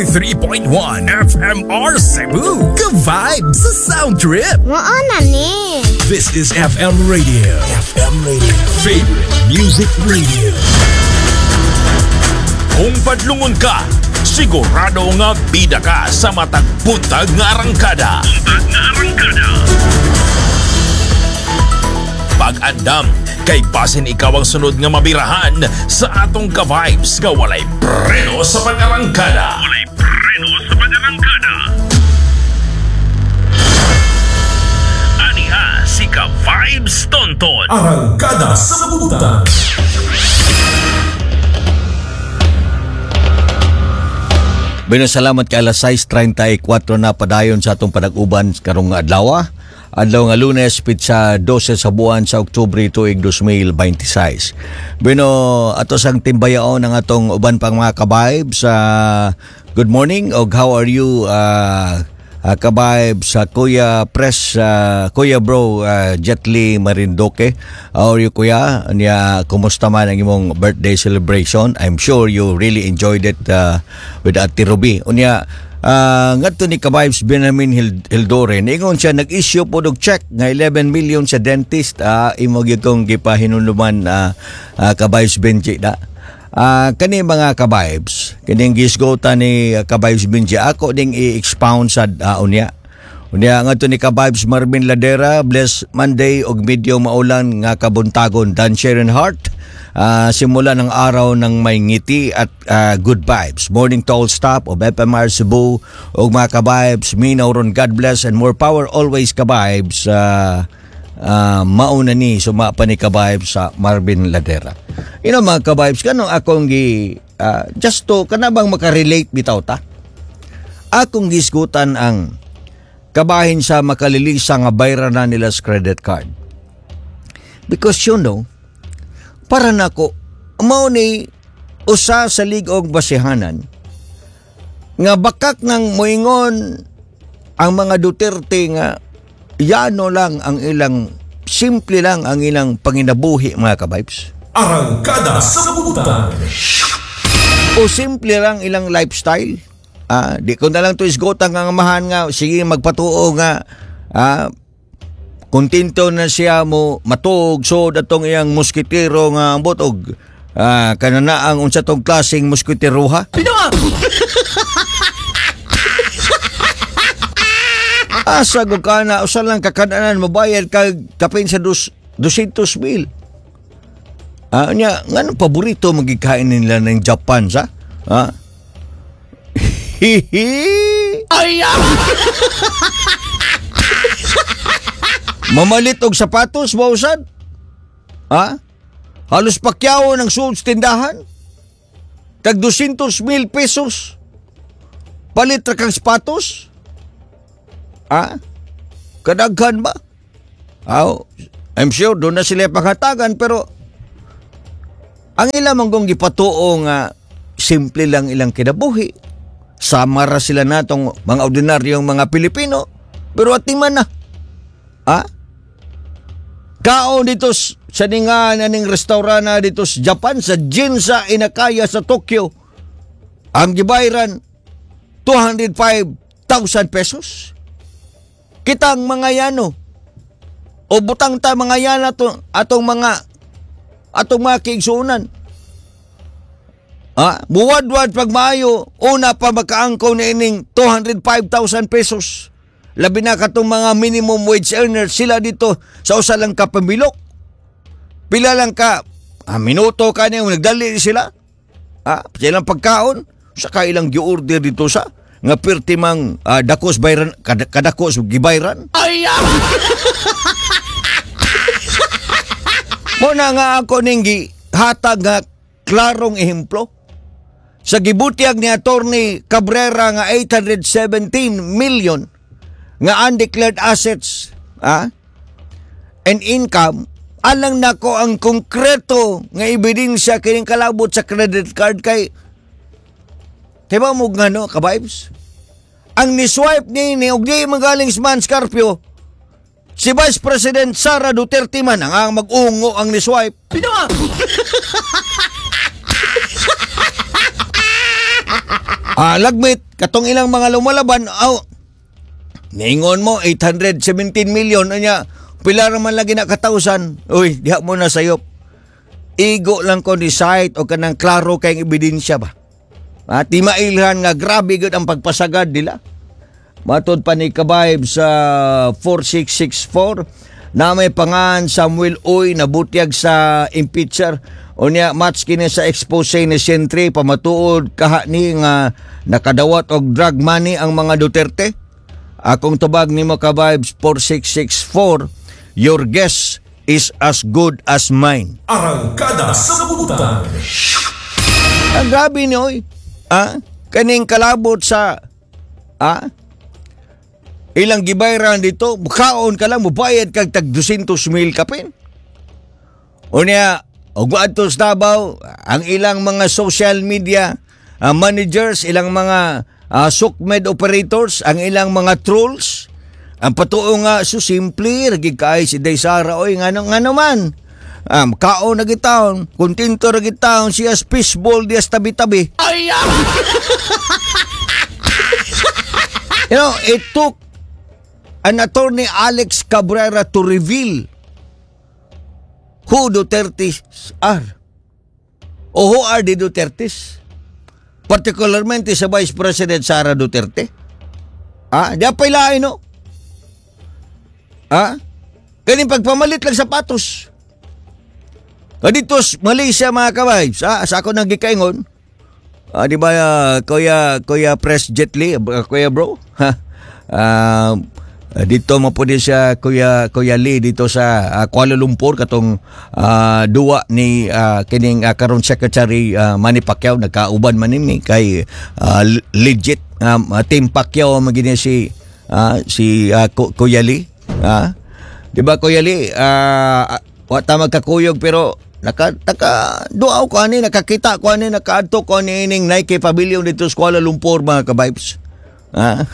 3.1 FMR Cebu. Ka-vibe sa Sound Trip. Mao na ni. This is FM Radio. FM Radio. Favorite Music Radio. Kung padlungon ka, sigurado nga bida ka sa matag buntag nga arangkada. Pag-andam, kay basin ikaw ang sunod nga mabirahan sa atong ka-vibes nga walay preno sa pag-arangkada. Walay preno sa pag-arangkada. Aniha si Ka-Vibes Tonton. Arangkada sa Butan. Bueno, salamat kay alas 6:34 na padayon sa atong panag-uban karong adlaw. Adlaw nga Lunes, pitsa 12 sa buwan sa Oktubre tuig 2026. Bueno, ato sang timbayaon ang atong uban pang mga ka-vibes. Good morning og how are you, ka-vibes, sa Kuya Press, Kuya Bro, Jetly Marindoke. How are you, Kuya? Nya, kumusta man ang imong birthday celebration? I'm sure you really enjoyed it with Ate Ruby. Unya, ngadto ni ka-vibes Benjamin Hildore, niingon siya nag-issue po og check nga 11 million sa dentist. Imo gyud tong gipahinuluman, ka-vibes Benji da. Kani mga ka-vibes, kining gisgota ni ka-vibes Benji, ako ding i-expound sa unya. Unya ngadto ni ka-vibes Marvin Ladera, bless Monday og medyo maulan nga kabuntagon. Dan Sharon Hart, simula ng araw ng may ngiti at good vibes. Morning to all staff of FMR Cebu og mga ka-vibes, Minaw ron, God bless and more power always ka-vibes. Mauna ni suma pa ni ka-vibes sa Marvin Ladera. You know mga ka-vibes, kanong akong gi just to kanabang makarelate bitaw ta. Akong gisgutan ang kabahin sa makalilisa nga bayra na nila sa credit card. Because you know, para nako mao ni usa sa lig-og basihanan nga bakak nang moingon ang mga Duterte nga yano lang ang ilang, simple lang ang ilang panginabuhi mga ka-vibes. Arangkada sa Butan. O simple lang ilang lifestyle. Di ko na lang to isgotang ang amahan nga sige magpatuo nga kontento na siya mo matuog so datong iyang moskitero nga ambot og kananaang unsa tong klaseng moskiteroha. Asa go kana usa lang kakananan mobayad kag kapin sa 200 mil. Nya nganong paborito magikain nila ng Japan sa? Hihi. Ay! Mamalit og sapatos mausad? Ha? Halos pakyaw ng suod sa tindahan? Tag 200 mil pesos? Palit ra kang sapatos? Ha? Kadaghan ba? Aw, I'm sure doon na sila panghatagan pero ang ilang manggong gipatuo nga simple lang ilang kinabuhi. Sama ra sila natong mga ordinaryong mga Pilipino pero atiman na. Ha? Kaon dito sa ninga aning restaurant na dito sa Japan, sa Ginza Inakaya sa Tokyo. Ang gibayran 205,000 pesos. Kitang mga yano o butang ta mga yana to, atong mga kiigsuonan. Buwadwad pag maayo, una pa makaangkaw na ining 205,000 pesos. Labi na katong mga minimum wage earners sila dito sa usa lang ka pamilok. Pila lang ka minuto ka niya, nagdali sila. Silang pagkaon, saka ilang gi-order dito sa nga pirti mang dakos bayran, kadakos gibayran. Ay! Muna nga ako ning gihatag nga klarong ehemplo sa gibutiyag ni Attorney Cabrera nga 817 million nga undeclared assets and income, alang nako ang konkreto nga ebidensya kining kalabot sa credit card kay diba mo nga no, ka-vibes? Ang ni-swipe ni og di magaling si Man Scarpio, si Vice President Sara Duterte man ang mag-ungo ang ni-swipe. Pino! Lagmit Katong ilang mga lumalaban, aw, niingon mo, 817 million, anya, pila raman lagi na katausan. Uy, diha mo na sayop. Igo lang ko ni site o kanang klaro kayong ebidensya ba. At di mailhan nga grabe gud ang pagpasagad nila. Matod pa ni Kabayb sa 4664 na may pangan Samuel Uy nabutyag sa impeacher. Unya match kini sa expose ni Sentry pamatuod kaha ni nga nakadawat og drug money ang mga Duterte. Akong tubag nimo Kabayb 4664, your guess is as good as mine. Arangkada sa Butang. Ang grabe ni oy. Ah, kaning kalabot sa ilang gibayran dito, kaon ka lang, mubayad kag tag 200 mil kapin. Unya, og adto sa Davao, ang ilang mga social media managers, ilang mga SOCMED operators, ang ilang mga trolls, ang patuo nga so simple, ragi kay si Day Sara oy ngano ngano man. Kaon na gitaon, kontento ra gitaon siya fishball diya sa tabi-tabi. You know, it took an attorney Alex Cabrera to reveal who Dutertes are. O who are the Dutertes? Particularmente sa Vice President Sara Duterte. Ah, di pa ilain, no? Ah? Kaning pagpamalit lang sapatos. Kadito Malaysia mga ka-vibes, ah, sa ako nang gikaingon. Ah, di ba Kuya Press Jet Li, Kuya bro? Ha? Dito mo po din siya Kuya Lee dito sa Kuala Lumpur katong duwa ni kining karon Secretary Manny Pacquiao nagkauban man ni kay legit Team Pacquiao magini si Kuya Lee. Ah? Di ba Kuya Lee, wa ta magkakuyog pero naka duaw ko ani, nakakita ko ani, nakaadto ko ani ining Nike Pavilion dito sa Kuala Lumpur mga ka-vibes. Ah?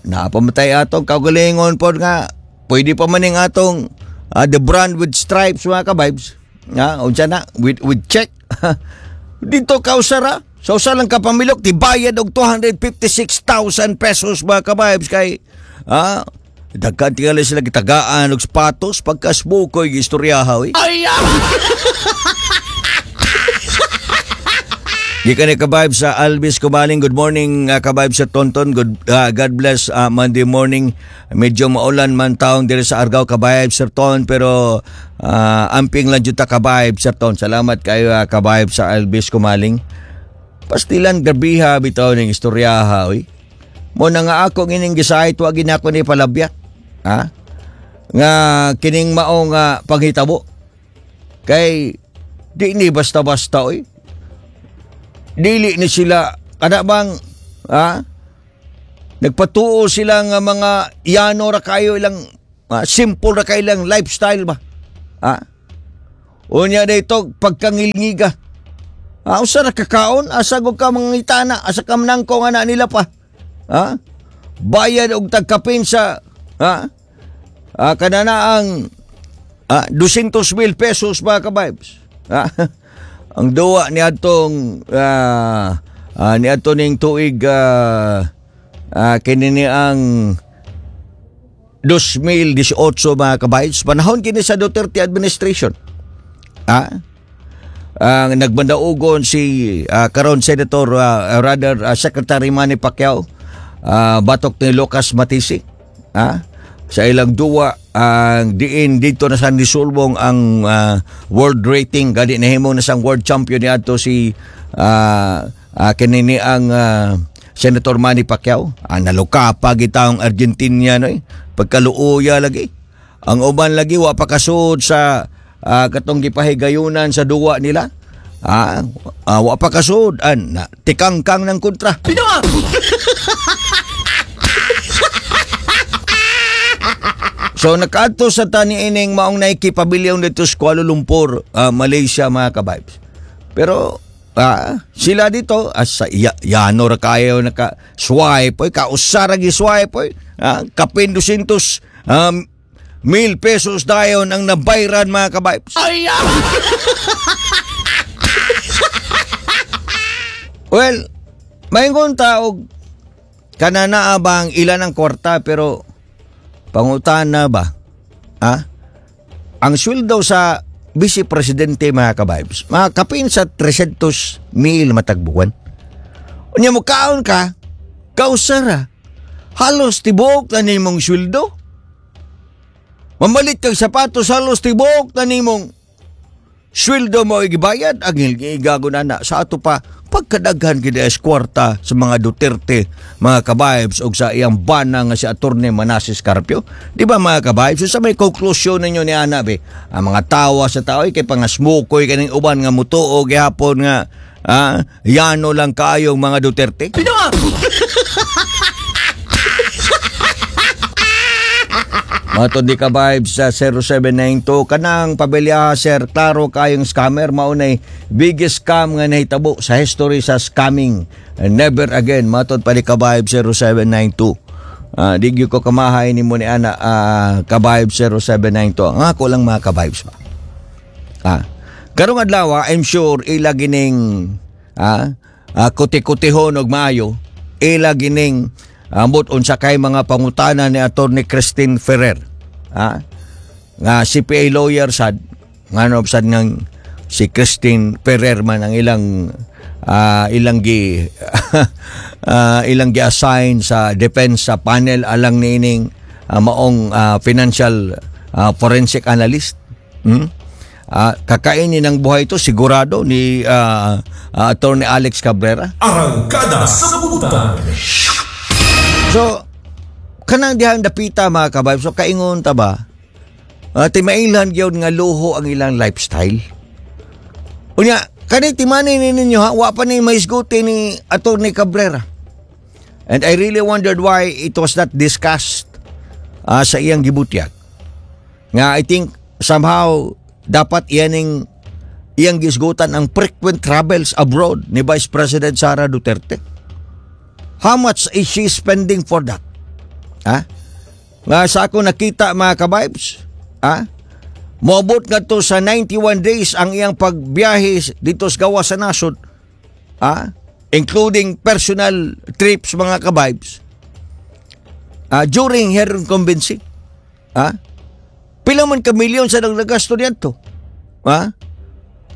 Napamatay atong kaugalingon pod nga pwede pa maning atong the brand with stripes mga ka-vibes. Unsa na with check. Dito kausara sa usa lang kapamilok tibayad og 256,000 pesos mga ka-vibes kay daghan tingali sila gitagaan og sapatos pagkasbukoy istoryaha oy. Ay! Gikan ni ka-vibes sa Alvis Kumaling. Good morning ka-vibes sa Tonton. Good, God bless Monday morning. Medyo maulan man taong diri sa Argao ka-vibes Sir Ton, pero amping lang jud ta ka-vibes Sir Ton. Salamat kayo ka-vibes sa Alvis Kumaling. Pastilan grabiha bitaw ning istoryaha oy. Mo na nga ako ining gisayt wa ginako ni palabyat. Ha? Nga kining maong panghitabo. Kay di ni basta-basta oy. Dili ni sila kada bang nagpatuo sila nga mga yano ra kayo ilang simple ra kayo ilang lifestyle ba. Unya dito pagkangilngiga. Usa ra kakaon asa gud ka mangitana asa ka manangko nga na nila pa. Bayad og tagkapin sa kanana ang 200,000 pesos mga ka-vibes. Ang duwa ni atong ni ato ning tuig kini ni ang 2018 mga ka-vibes, panahon kini sa Duterte administration. Ang nagbandaugon si karon Senator rather Secretary Manny Pacquiao batok ni Lucas Matisi. Sa ilang duwa ang diin dito na sa nisulbong ang world rating gani nahimo na sang world champion ni adto si kini ni ang Senator Manny Pacquiao. Naluka pa gitawng Argentina no pagkaluoya lagi. Ang uban lagi wa pa kasud sa katong gipahigayunan sa duwa nila. Wa pa kasud an tikangkang ng kontra. So nakaadto sa tani ining maong Nike Pavilion dito sa Kuala Lumpur, Malaysia mga ka-vibes. Pero sila dito as sa yano ra kayo naka swipe oy, kausa ra gi swipe oy. Kapin 200 mil pesos dayon ang nabayran mga ka-vibes. Ay! Well, Maingon ta og kana naa ba ang ilan ang kwarta, pero pangutana ba? Ha? Ang sweldo sa vice presidente, mga ka-vibes, mga kapin sa 300 mil matag buwan. Unya mo kaon ka, kausara. Halos tibuok na nimong sweldo. Mamalit kag sapatos, halos tibuok na nimong sweldo mo igibayad. Ang igago na na sa ato pa pagkadaghan gid es kwarta sa mga Duterte, mga ka-vibes, og sa iyang bana nga si Attorney Manases Carpio, di ba, mga ka-vibes? So, sa may conclusion ninyo ni ana be, ang mga tawa sa tao ay kay pangasmukoy kaning uban nga mutuo gihapon nga yano lang kaayong mga Duterte. Matod di ka vibes sa 0792, kanang pabilya sir, klaro kayong scammer, maunay biggest scam nga nahitabo sa history sa scamming. And never again, matod pa di ka vibes 0792. Di gyud ko kamahay nimo ni ana, ka vibes 0792. Ang ako lang, mga ka vibes ba. Karong adlaw, I'm sure ila gining kuti-kutihon og maayo, ila gining ambot unsa kay mga pangutana ni Attorney Christine Ferrer. Nga CPA lawyer sad, ngano sad ngang si Christine Ferrer man ang ilang gi-assign sa defense sa panel alang niining maong financial forensic analyst. Kakainin ng buhay ito sigurado ni Attorney Alex Cabrera. Arangkada sa Butang. So, kanang dihang dapita, mga kabayb, so kaingon ta ba, timailan gyud nga luho ang ilang lifestyle. Unya, kani timani ni ninyo ha, wa pa ni mahisguti ni Attorney Cabrera. And I really wondered why it was not discussed sa iyang gibutyag. Nga I think somehow dapat iyaning iyang gisgutan ang frequent travels abroad ni Vice President Sara Duterte. How much is she spending for that? Ha? Nga sa ako nakita, mga ka-vibes, ha? Moabot nga to sa 91 days ang iyang pagbiyahe dito sa gawas sa nasod. Ha? Including personal trips, mga ka-vibes. During her incumbency. Ha? Pila man ka milyon sa nagagasto niyanto? Ha?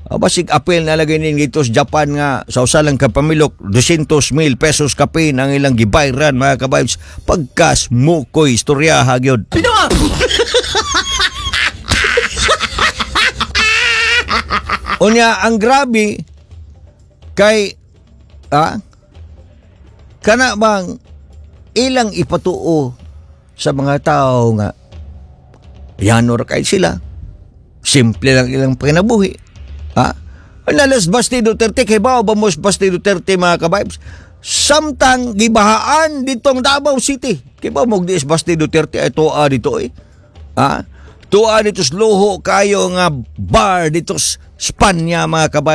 Basig apel na lagay nin dito sa Japan nga sa usa lang ka pamilok 200 mil pesos kapin ang ilang gibayran, mga ka-vibes. Pagkas mukoy istorya gyud. Unya ang grabe kay kana bang ilang ipatuo sa mga tao nga yanor kay sila, simple lang ilang panginabuhi. Ha? Nalas Basti Duterte, kay ba ba mo Basti Duterte, mga ka-vibes? Samtang gibahaan ditong Davao City. Kay ba mo di Basti Duterte ay tuwa dito eh. Ha? Tuwa dito sa luho kayo nga bar dito sa Spanya, mga ka-vibes.